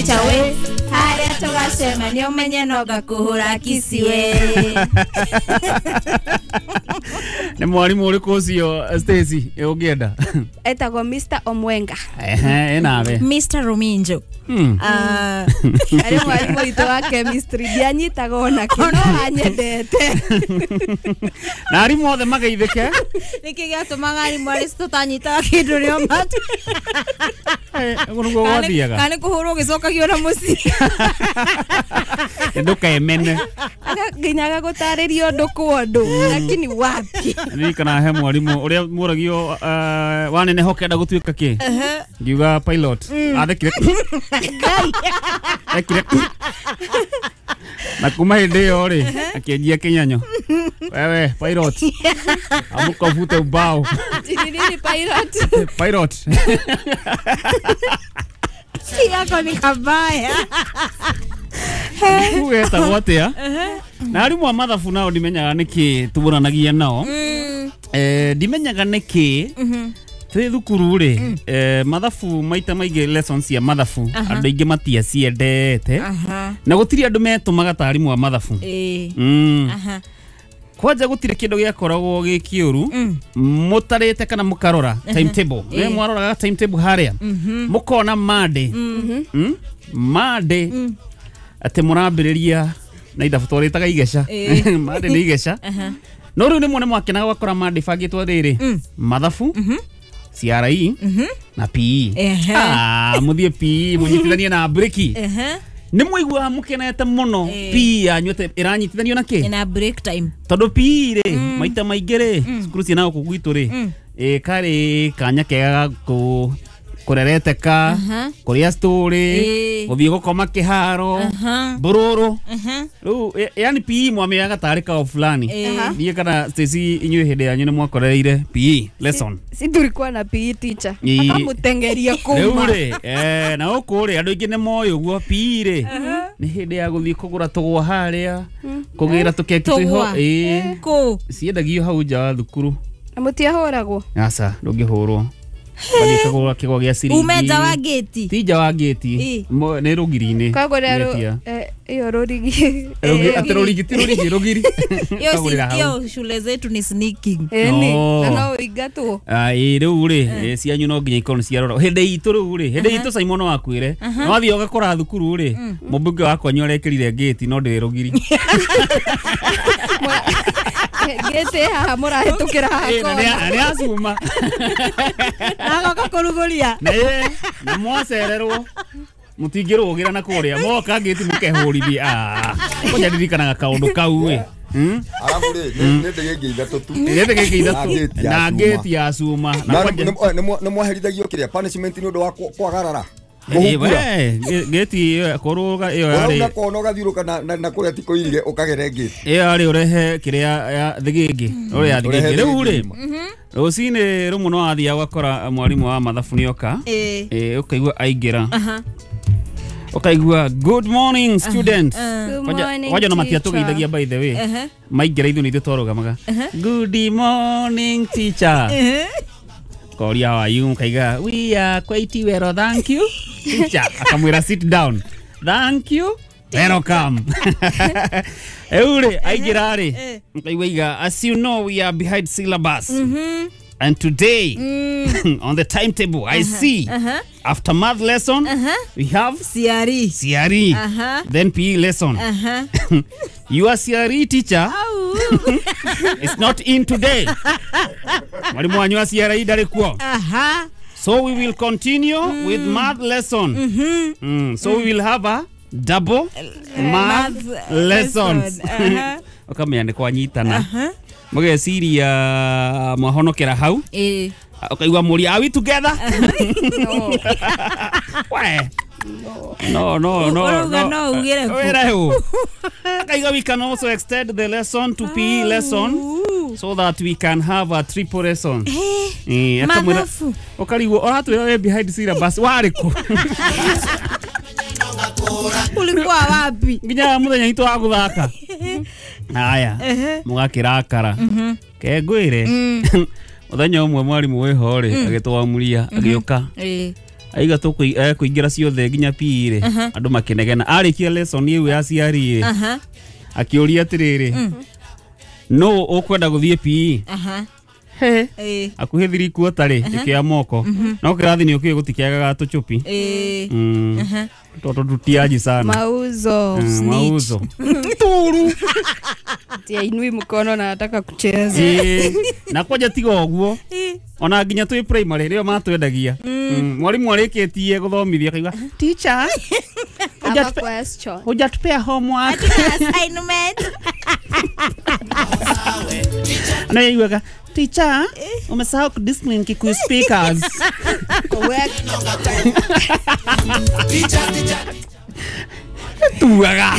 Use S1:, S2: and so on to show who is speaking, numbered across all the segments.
S1: teacher we harĩa tũgacemania ũmenye no ngakũhũra kiss we.
S2: Nĩ mwarimũ ũrĩkũ ũcio Stacy ũngĩenda?
S3: Etagwo Mr. Omwenga.
S2: Ehe, ĩnawe.
S1: Mr. Ruminjo.
S3: Arĩ mwarimũ witũ wa chemistry, ndianyitaga ona kĩ, no anyendete.
S2: Na arimũ othe mageithĩke.
S1: Nĩkĩ gĩatũmaga arimũ arĩa tũtanyitaga kĩndũ rĩo matu?
S2: Ũguo nĩguo gwathiaga.
S1: Kana nĩ kũhũrwo ũgĩcokagio na mũciĩ.
S2: Ndũkemene.
S3: Nginya agagũtarĩria ũndũ kwa ũndũ, lakini wapi.
S2: Ndirikana he mwarimũ ũrĩa mũragio waneneha ũkenda gũtuĩka kĩ? Ngiuga pilot. Athekire. Ekire. Na kuma hĩndĩ ĩyo rĩ, akĩanjia kĩnyanyo. Wewe pilot. Amuka uvute ubao.
S3: Nini pilot?
S2: Pilot.
S1: Yako ni kabaya.
S2: Ugetagwo atĩa? Na arimũ a mathabu nao ndimenyaga nĩkĩ tũbũranagia nao. Ndimenyaga nĩkĩ twĩ thukuru rĩ, mathabu maita maingĩ lessons cia mathabu andũ aingĩ matiaciendete. Na gũtirĩ andũ metũmaga ta arimũ a mathabu. Kwanja gũtirĩ kĩndũ gĩakoragwo gĩ kĩũru mũtarĩte kana mũkarora timetable. Nĩ mwaroraga timetable harĩa mũkona Monday. Monday atĩ mũrambĩrĩria na ithabu twarĩtaga igeca. Monday nĩ igeca. No rĩu nĩ mwakenaga gwakora Monday bangĩtwo rĩrĩ mathabu, CRE na PE. Mũthiĩ PE mũnyitithanie na breki. Nĩ mwaiguaga mũkenete mũno PE yanyu atĩ ĩranyitithanio na kĩ?
S1: Na break time.
S2: Tondũ PE rĩ maita maingĩ rĩ cukuru ciĩna gũkũ gwitũ rĩ karĩ kanya kega ga kũrereteka, kũrĩa story, gũthiĩ gũkoma kĩharo, mbũrũrũ. Rĩu yani PE mwamĩaga tarĩ kao fulani. Niĩ kana Stacy inyuĩ hĩndĩ yanyu nĩ mwakorereire PE lesson.
S3: Si tulikuwa na PE teacher. Akamũtengeria kuma.
S2: Rĩu rĩ, na gũkũ rĩ andũ aingĩ nĩ moĩ ũguo PE rĩ nĩ hĩndĩ ya gũthiĩ kũgũra tũgwa harĩa, kũgĩra tũkeki twĩho.
S1: Kũ?
S2: Ciendagio hau nja wa thukuru.
S3: Na mũtiahũragwo?
S2: Aca, ndũngĩhũrwo. Wathiĩ kũgũra kĩgwa gĩa ciringi.
S1: Ume nja wa gĩti?
S2: Ti nja wa gĩti, nĩ rũgiri-inĩ.
S3: Kagũra ĩyo rũrigi.
S2: Atĩ rũrigi ti rũrigi, rũgiri.
S1: Hiyo shule zetu ni sneaking.
S3: Ĩni, na no ũingatwo.
S2: Rĩu rĩ, cianyu no nginya ikorwo nĩ ciarora. Hĩndĩ itũ rĩu rĩ, hĩndĩ itũ Simon wakwĩre, no wathiĩ ũgakora thukuru rĩ, mũmbunge wakwa nĩ ũrekĩrire gĩti no ndĩrĩ rũgiri.
S3: Gĩti haha mũrahĩtũkĩra haha kona.
S2: Nĩ acuma.
S1: Agoka kũrugũria.
S2: Na mwacererwo mũtingĩrũgĩra na kũrĩa moka gĩti mũkehũrithia. Kwanja ndirikanaga kaũndũ kau ĩ.
S4: Arabu rĩ, nĩ ndege ithatũ tu.
S2: Nĩ ndege ithatũ na ngĩti ya cuma.
S4: Nĩ mwaherithagio kĩrĩa punishment nĩ ũndũ wa kwagarara.
S2: Gĩti kũrũga ĩyo yarĩ.
S4: Ũrauna kona ũgathiũrũka na kũrĩa ti kũirige ũkagere ngĩti.
S2: Ĩyo yarĩ ũrehe kĩrĩa ya thĩgĩngĩ. Ũrĩa ya thĩgĩngĩ. Rĩu rĩ, rũcinĩ rũmwe no wathiaga ũgakora mwarimũ wa mathabu nĩoka. Ũkaigua aingĩra. Ũkaigua good morning students. Kwanja no matiatũgeithagia by the way. Maingĩra ithuĩ nĩ ithuĩ twarũgamaga. Good morning teacher. Koria how are you? Kaiga, we are quite well, thank you. Teacher, akamwira sit down. Thank you. Welcome. Eure, aingĩra rĩ. Kaiga, as you know, we are behind syllabus. And today, on the timetable, I see after math lesson, we have
S1: CRE.
S2: CRE. Then PE lesson. Your CRE teacher is not in today. Mwalimu wanyu wa CRE ndarĩ kuo. So we will continue with math lesson. So we will have a double math lessons. Ũkamenya nĩ kwanyitana. Mũgeciria mwahonokera hau. Ũkaigua mũria, are we together?
S3: No.
S2: We. No, no, no, no.
S1: No, ugire.
S2: Akaiga we can also extend the lesson to PE lesson so that we can have a triple lesson.
S1: Mathabu.
S2: Ũkarigwo ũratwĩra we behind syllabus warĩ kũ?
S1: Ulikuwa wapi?
S2: Nginya mũthenya witũ wa gũthaka. Haya, mũgakĩrakara. Ke ngwĩre. Mũthenya ũmwe mwarimũ wĩho rĩ, agĩtwamuria, agĩũka. Aiga tũkũingĩra ciothe nginya PE rĩ andũ makĩnegena arĩkia lesson ĩyo ya ciari rĩ akĩũria atĩrĩrĩ no ũkwenda gũthiĩ PE he akuhĩ 3/4 rĩ ĩkĩoya moko no kĩrathi nĩ ũkĩũĩ gũtikĩagaga tũchupi toto tutiaji sana
S3: mauzo
S2: mauzo turu
S3: tia inui mkono na nataka kucheza
S2: na kwanja tiga ũguo ona nginya twĩ primary rĩo matwendagia mwarimu arĩkĩtie gũthomithia akaigua teacher hujatupea homework
S1: assignment
S2: na yaiguaga teacher umesahau kudiscipline Kikuyu speakers
S3: correct
S2: tuaga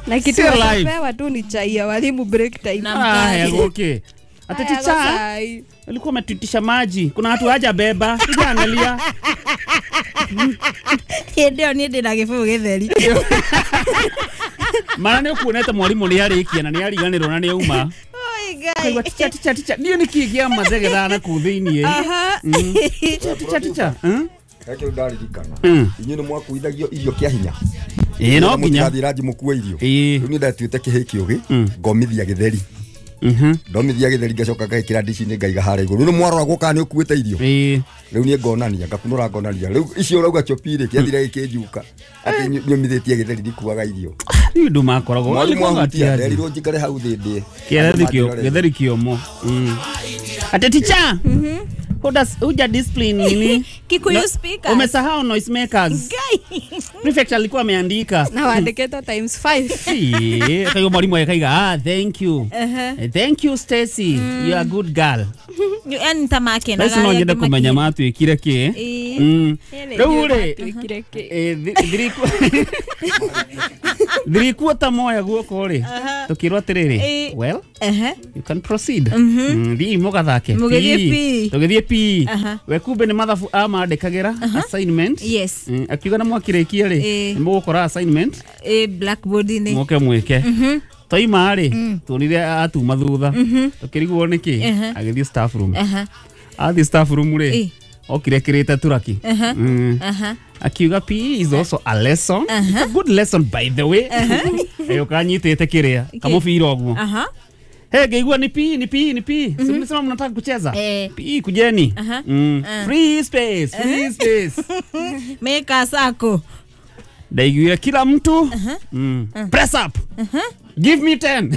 S3: na kitu anapewa tu ni chai ya walimu break time
S2: na okay ati teacher alikuwa ametuitisha maji kuna watu haja beba kuja angalia
S1: hĩndĩ ĩyo niĩ ndĩna gĩbũyũ gĩtheri
S2: mara nĩ ũkuonete mwarimũ nĩ arĩkia na nĩ ariganĩrwo na nĩ auma kaigua teacher teacher teacher niĩ nĩ kĩĩ kĩa mathegetha na kũu thĩiniĩ teacher teacher
S4: Reke ndaririkana inyuĩ nĩ mwakuithagio irio kĩa hinya
S2: ĩĩ no nginya
S4: mũtigathiĩ ranji mũkue irio rĩu niĩ ndatuĩte kĩhĩ kĩũgĩ ngomithia gĩtheri ndomithia gĩtheri ngacoka ngagĩkĩra ndici-inĩ ngaiga harĩa igũrũ rĩu mwaroragwo kana nĩ ũkuĩte irio rĩu niĩ ngonania ngakunũra ngonania rĩu icio ũrauga chopi rĩ kĩathire gĩkĩnjuka atĩ nyũmithĩtie gĩtheri ndikuaga irio
S2: rĩu andũ makoragwo
S4: mwarimu ahutia nderirwo njikare hau thĩ ndĩe
S2: gĩtheri kĩũmũ ati teacher huja discipline nini
S1: Kikuyu speakers
S2: umesahau noise makers prefect alikuwa ameandika
S3: na waandiketwo times 5
S2: kaiga mwalimu akaiga thank you thank you Stacy you are a good girl
S1: yani tamakena
S2: basi no nyende kumenya matwikire ki riu ri 3/4 moya guoko ri tukirwo atiriri well you can proceed thii mugathake tugithie PE we kumbe ni mathabu amandĩkagĩra assignment
S1: yes
S2: akiuga na mwakĩrĩkia rĩ nĩ mũgũkora assignment
S1: blackboard-inĩ
S2: moke mwĩke twaima rĩ tuonire atuma thutha tukĩrigwo nĩkĩ agĩthiĩ staff room athiĩ staff room rĩ okire kĩrĩte turaki akiuga PE is also a lesson it's a good lesson by the way agĩũka anyitĩte kĩrĩa kamũbira ũguo Hey, ngeigua ni PE ni PE ni PE. Si mlisema mnataka kucheza? PE kujeni. Free space, free space.
S1: Meka sako.
S2: Ndaiguire kila mtu. Press up. Give me 10.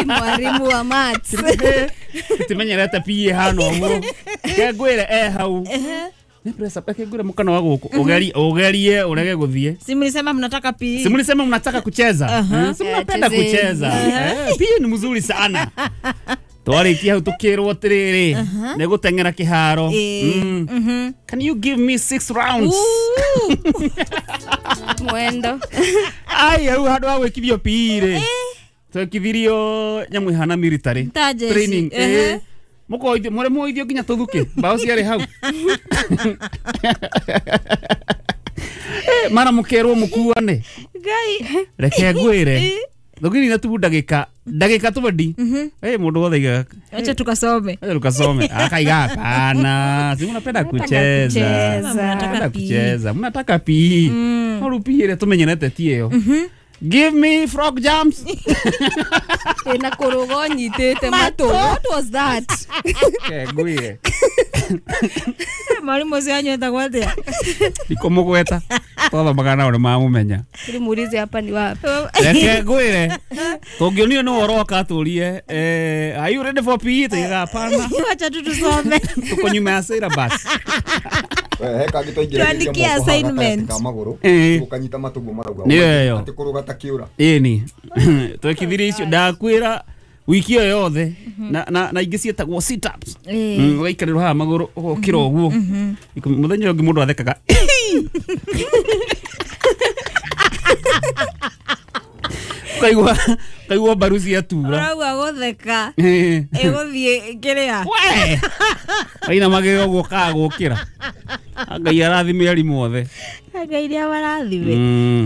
S3: Mwalimu wa maths.
S2: Timenyerete PE hano ũguo. Ke ngwĩre hau. Ni press up ke ngwĩre mũkano wa gũkũ. Ugerie urege gũthiĩ.
S1: Si mlisema mnataka PE.
S2: Si mlisema mnataka kucheza. Si mnapenda kucheza. PE ni mzuri sana. Twarĩkia hau tukĩrwo atĩrĩrĩ nĩ gũteng'era kĩharo. Can you give me 6 rounds?
S3: Mwendo.
S2: Ai hau handũ ha gwĩkithio PE rĩ. Twekithirio nyamũ ihana military training. Mukoithio muri muithio nginya tuthuke mbao ciarĩ hau mara mukerwo mukuane
S1: Ngai
S2: reke ngwĩre thugiri na tu ndagĩka twendi mũndũ wothe aigaga
S1: acha tukasome
S2: akaiga hapana si mnapenda kucheza mnataka kucheza mnataka PE no rĩu PE ĩrĩa tũmenyerete ti ĩyo Give me frog jumps.
S3: Na kũrũga ũnyitĩte matũ. What was that?
S2: Ngwĩre.
S1: Mwalimu ũcio wanyu etagwo atĩa?
S2: Ndikũmũgweta. Twathomaga nao nĩ mamũmenya.
S3: Mũrize hapa ni wapi?
S2: Reke ngwĩre. Tũngĩonire nĩ ũroka atũrie are you ready for PE? Tuigaga hapana.
S1: Wacha tu tusome.
S2: Tuko nyuma ya syllabus.
S4: He kangĩ twaingĩragia moko haha gatagatĩ ka magũrũ ũkanyita matũguo marauga atĩ kũrũga ta kĩũra.
S2: Ĩni twekithirie icio ndakwĩra wiki ĩyo yothe na ingĩ ciĩtagwo sit ups ũgaikarĩrwo haha magũrũ ũgokĩra ũguo mũthenya ũngĩ mũndũ athekaga kaigua mbaru ciatura
S1: ũrauga gũtheka ĩgũthiĩ kĩrĩa
S2: we wainamagĩrĩra ũguo kaga gũkĩra Ngai arathime arimũ othe.
S1: Ngai nĩ amarathime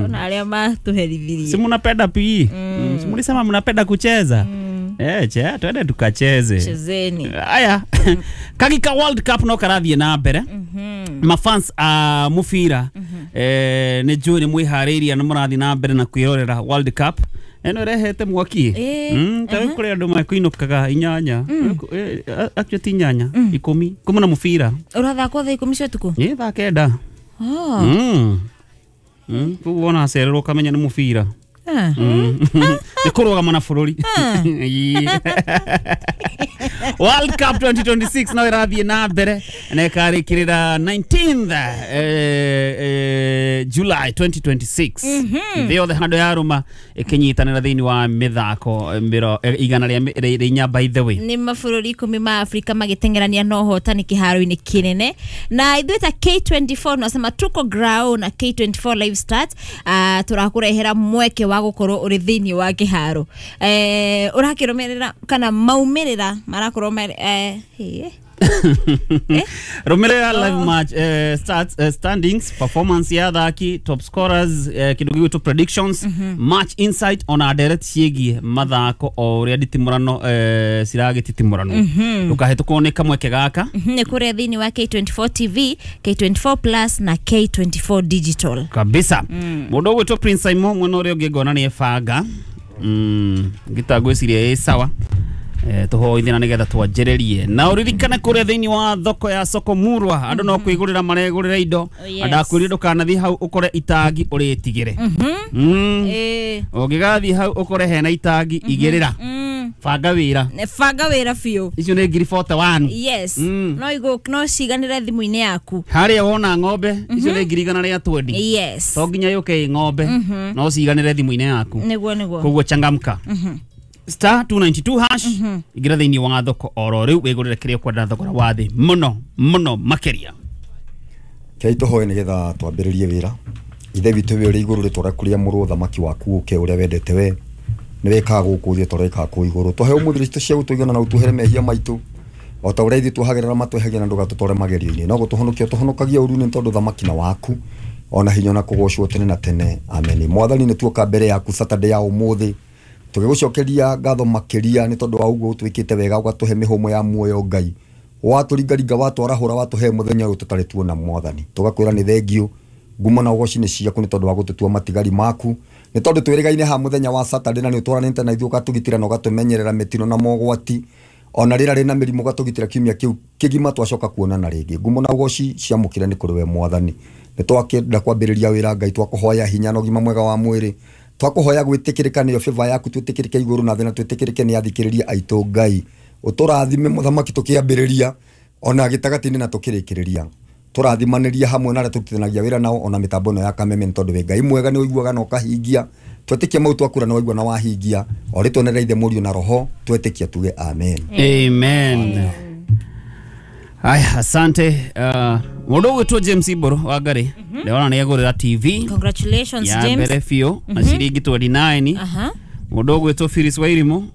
S1: ona arĩa matũherithirie.
S2: Si mnapenda PE? Si mlisema mnapenda kucheza? Che twende tukacheze.
S1: Chezeni.
S2: Aya. Kagika World Cup no karathiĩ na mbere. Mafans a mubira nĩ njũĩ nĩ mwĩharĩirie na mũrathiĩ na mbere na kwĩrorera World Cup ĩno ĩrehete mwaki. Ta rĩu kũrĩ andũ mekũinũkaga inyanya, actually ti inyanya, 10 kuma na mũbira
S1: Ũrathakwo thaa 10 cia ũtukũ?
S2: Ĩ thaa 9. Koguo wona acererwo ũkamenya nĩ mũbira. Nĩ kũrũgama na bũrũri. World Cup 2026 no ĩrathiĩ na mbere na ĩkarĩkĩrĩra 19th July 2026. Thĩ yothe handũ yarũma ĩkĩnyitanĩra thĩinĩ wa mĩthako 104 by the way.
S1: Nĩ mabũrũri 10 ma Afrika magĩteng'erania na ũhotani kĩharo-inĩ kĩnene, na ithuĩ ta K24 nasema tuko ground na K24 live start. Tũrakũrehera mweke wa gũkorwo ũrĩ thĩinĩ wa kĩharo. Ũrakĩrũmĩrĩra kana maumĩrĩra marakorwo
S2: Rũmĩrĩra live match stats, standings, performance ya athaki, top scorers, kĩndũ gĩgwĩtwo predictions, match insight ona ndereti ciĩgiĩ mathako o ũrĩa nditimũrano ciragĩtitimũranwo. Ndũkahĩtũkwo nĩ kamweke gaka.
S1: Nĩ kũrĩa thĩinĩ wa K24 TV, K24 Plus na K24 Digital.
S2: Kabisa. Mũndũ ũgwĩtwo Prince Simon mwena ũrĩa ũngĩ ngona nĩ ebanga. Ngita ngwĩciria ĩ sawa. Tũhoithie na nĩgetha twanjĩrĩrie na ũririkane kũrĩa thĩinĩ wa thoko ya Soko Murwa andũ no kwĩgũrĩra maregũrĩra indo. Ndakwĩrire ndũkanathiĩ hau ũkore itangi ũrĩtigĩre. Ũngĩgathiĩ hau ũkore hena itangi igĩrĩra. Banga wĩra.
S1: Banga wĩra biũ.
S2: Icio nĩ ngiri 41.
S1: Yes. No igo no ciganĩre thimũ-inĩ yaku.
S2: Harĩa wona ng'ombe icio nĩ ngiri 120.
S1: Yes.
S2: To nginya yũke ĩ ng'ombe no ciganĩre thimũ-inĩ yaku.
S1: Nĩguo nĩguo.
S2: Koguo changamka. Star 292 hash igira thĩinĩ wa thoko oro rĩu wĩgũrĩre kĩrĩa ũkwenda thogora wa thĩ mũno mũno makĩria.
S4: Kei tũhoe nĩgetha twambĩrĩrie wĩra. Ithe witũ wĩ ũrĩ igũrũ rĩtwa rĩaku rĩamũrwo, thamaki waku ũke ũrĩa wendete we nĩ wĩkaga gũkũ thĩ ta ũrĩa wĩkaga kũu igũrũ. Tũhe ũmũthĩ irio cia gũtũigana na ũtuohere mehia maitũ o ta ũrĩa ithuĩ tuohagĩrĩra matwehagia na ndũgatũtware magerio-inĩ, no gũtũhonokia ũtũhonokagia ũru-inĩ tondũ thamaki na waku ona hinya na kũgocwo tene na tene. Amen. Mwathani nĩ tuoka mbere yaku Saturday ya ũmũthĩ tũgĩgũcokeria ngatho makĩria nĩ tondũ wa ũguo ũtwĩkĩte wega ũgatũhe mĩhũmũ ya muoyo Ngai, watũringaringa watwarahũra watũhe mũthenya ũyũ tũtarĩ tuona Mwathani. Tũgakwĩra nĩ thengio ngumo na ũgoci nĩ ciaku nĩ tondũ wa gũtũtua matigari maku, nĩ tondũ twĩrĩgaine ha mũthenya wa Saturday na nĩ ũtwaranĩte na ithuĩ ũgatũgitĩra na ũgatũmenyerera mĩtino na mogwati ona rĩera rĩna mĩrimũ ũgatũgitĩra kiumia kĩu kĩgima twacoka kuonana rĩngĩ. Ngumo na ũgoci ciamũkĩre nĩ kũrĩ we Mwathani. Nĩ twakĩenda kwambĩrĩria wĩra Ngai, twakũhoya hinya na ũgima mwega wa mwĩrĩ, twakũhoya gwĩtĩkĩrĩka nĩyo favor yaku, twĩtĩkĩrĩke igũrũ na thĩ na twĩtĩkĩrĩke nĩ athikĩrĩria aitũ Ngai. Ũtũrathime mũthamaki tũkĩambĩrĩria ona gĩtagatĩ-inĩ na tũkĩrĩkĩrĩria. Tũrathimanĩria hamwe na arĩa tũrutithanagia wĩra nao ona mĩtambo ĩno ya Kameme nĩ tondũ wĩ Ngai mwega nĩ ũiguaga na ũkahingia. Twetĩkia mau twakura na waigua na wahingia. O rĩtwa nĩ Ithe Mũriũ na Roho twetĩkia tuge amen.
S2: Amen. Aya, asante. Mũndũ ũgwĩtwo James Iboro wa Ngarĩ ndĩrona nĩ agũrĩra TV.
S1: Congratulations
S2: ya
S1: James.
S2: Mbere biũ na ciringi 29. Mũndũ ũgwĩtwo Phyllis Wairimu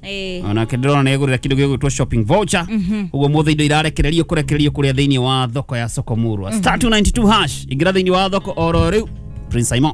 S2: onake ndĩrona nĩ agũrĩra kĩndũ gĩgwĩtwo shopping voucher. Ũguo mũthĩ indo irarekererio kũrekererio kũrĩa thĩinĩ wa thoko ya Soko Murwa. Star 292 hash ingĩra thĩinĩ wa thoko oro rĩu. Prince Simon.